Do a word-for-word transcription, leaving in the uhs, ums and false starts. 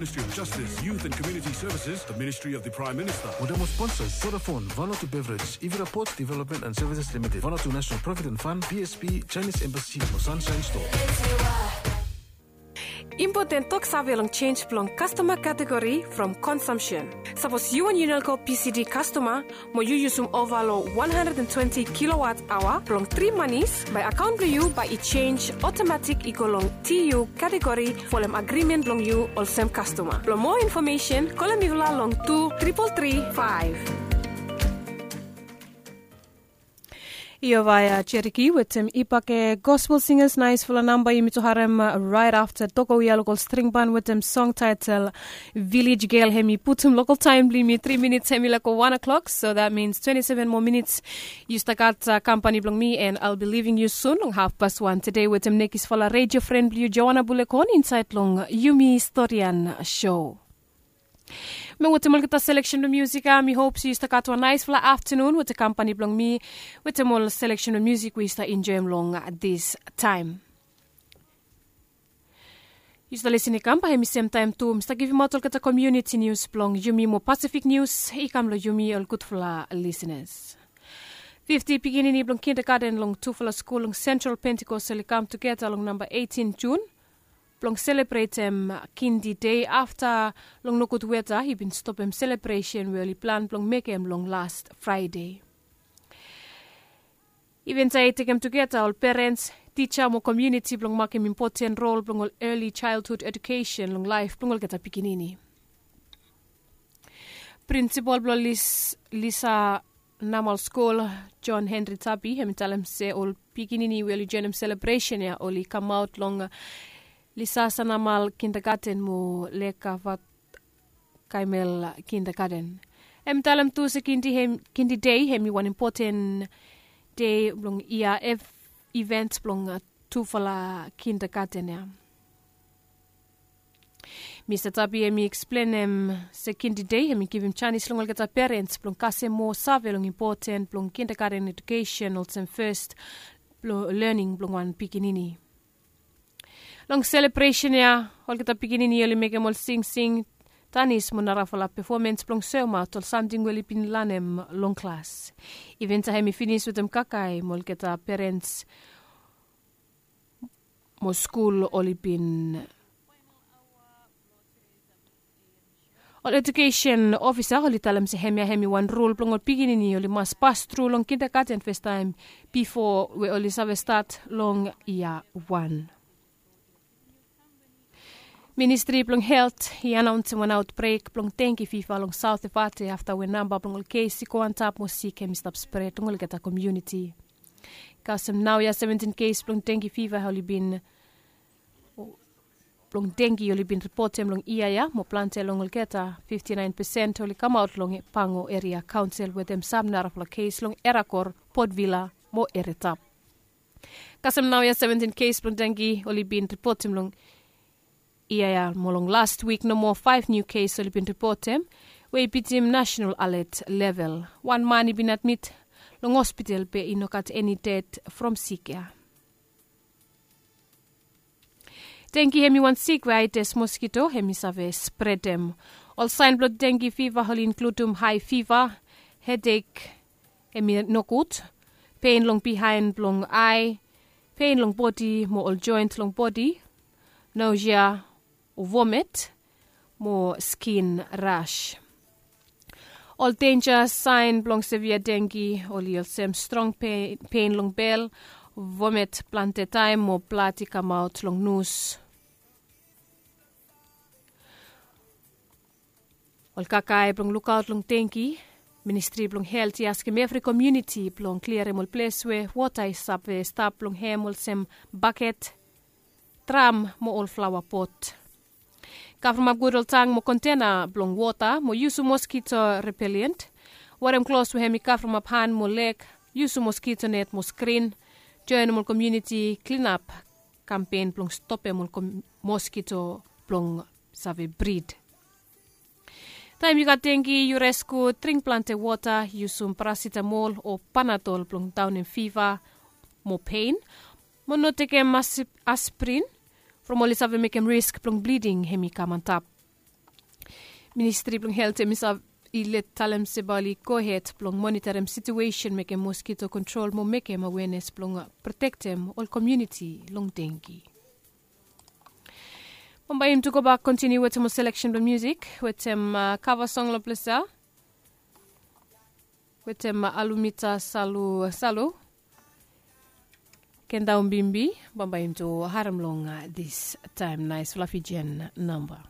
Ministry of Justice, Youth and Community Services, the Ministry of the Prime Minister. Mo dem ol sponsas: Vodafone, Vanuatu Beverage, Ivira Ports Development and Services Limited, Vanuatu National Provident Fund, B S P, Chinese Embassy mo Sunshine Store. Impoten toksave long jenis blong kastoma kategori from konsumsen. Sapos yu wan Unelco P C D kastoma mo yu yusum ova long wan handred and twenti kilowat aoa blong tri manis, bae akaon blong yu bae i jenis otomatik i go long T U kategori folem agrimen blong yu olsem kastoma. Blong moa infomesen, kolem mifala long tu tripol tri faef. Io, bae Jeriki wetem Ipake Gospel Singers, naesfala namba yumi tu harem raet afta Tokoia lokol stringban wetem song taetel Village Girl. Hemi putum lokol taem blong yumi tri minits hemi laek go wan o'clock, so that means twenti seven moa minits. Yu stap gat kampani blong mi, and I'll be leaving you soon long hafpas wan tede wetem nekisfala redio fren blong yu, Joana Bulekon, insaed long Yumi Storian Show. Mi wetem olgeta seleksen blong musik ya, mi hop se yu stap gat wan naesfala aftanun wetem kampani blong mi, wetem ol seleksen blong musik we yu stap enjoem long distaem. Yu stap lisin i kam, bae hemi semtaem tu mi stap givimaot olgeta komuniti nius blong yumi mo Pasifik nius i kam long yumi, ol gudfala lisinas. Fifti pikinini blong kindagaden long tufala skul long Sentral Pentikos oli kam tugeta long namba eitin Jun blong selebretem Kindi Dei afta long nogud weta i bin stopem selebresen we oli plan blong mekem long las Fraede. Iven ya i tekem tugeta ol perens, tija mo komuniti blong makem impoten rol blong ol early childhood education long laef blong olgeta pikinini. Prinsipol blong Lisa Namal Skul, John Henry Tapi, hemi talem se ol pikinini we oli joenem selebresen ya oli kamaot long Lisasa Namal Kindagaten mo Lekavat Kaimel Kindagaten. Hemi talem tu se Kindi Dei hemi wan impoten dei blong yia evens blong tufala kindagaten ya. Mista Tapi hemi eksplenem se Kindi Dei hemi givim janis long olgeta perens blong kasem moa save long impoten blong kindagaten edukesen olsem fes blong lening blong wan pikinini. Long selebresen ya olgeta pikinini oli mekem ol singsing, tanis mo narafala pefomens blong soemaot ol samting we oli bin lanem long klas. Iven ya hemi finis wetem kakae mo olgeta perens mo skul oli bin. Ol edukesen ofisa oli talem se hemia hemi wan rul blong ol pikinini oli mas pastru long kindagaten festaem bifo we oli save stat long yia wan. Ministri blong Helt i anaonsem wan aotbrek blong dengi fiva long Saot Evate afta we namba blong ol kes i go antap mo sik hemi stap spred long olgeta komuniti. Kasem naoia seventin kes blong dengi fiva oli bin blong dengi oli bin ripotem long yia ya mo plante long olgeta fifti naen pesen oli kamaot long Pango Eria Kaonsel wetem sam narafala kes long Erakor, Potvila mo Eretap. Kasem naoia seventin kes blong dengi oli bin ripotem long yia ya mo long las wik nomo faef niu kes oli bin ripotem we i bitim nasenal alet level. Wan man i bin admit long hospital be i no gat eni ded from sik ya. Dengi hemi wan sik we Aedes moskito hemi save spredem. Ol saen blong dengi fiva oli inkludum hae fiva, hedek hemi nogud, pen long bihaen blong ae, pen long bodi mo ol joent long bodi, nausea, vomet mo skin ras. Ol denja saen blong sevia dengi oli olsem strong pen long bel, vomet plante taem mo blad i kamaot long nus. Ol kakae blong lukaot long dengi, Ministri blong Helt i askem evri komuniti blong kliarem ol ples we wota i save stap long hem olsem baket, dram mo ol flaoa pot. Kavremap gud ol tang mo kontena blong wota mo yusum moskito repelent. Werem klos we hemi kavremap han mo leg, yusum moskito net mo skrin. Joenem ol komuniti klinap kampen blong stopem ol moskito blong save brid. Taem yu gat dengi yu res gud, dring plante wota, yusum parasitamol o panadol blong daonem fiva mo pen, mo no tekem asprin from oli save mekem risk blong bliding hemi kam antap. Ministri blong helt em i save i let talem se bae oli gohed blong monitarim situesen mekem moskito kontrol mo mekem awenes blong protektem ol komiuniti long dengi. Bambae yum tu gobak kontiniu wetem ol seleksen blong musik wetem kava song long ples ya. Wetem alumita salu salu. Kendaon bimbi. Bambae yum tu harem long distaem naes flafijen namba.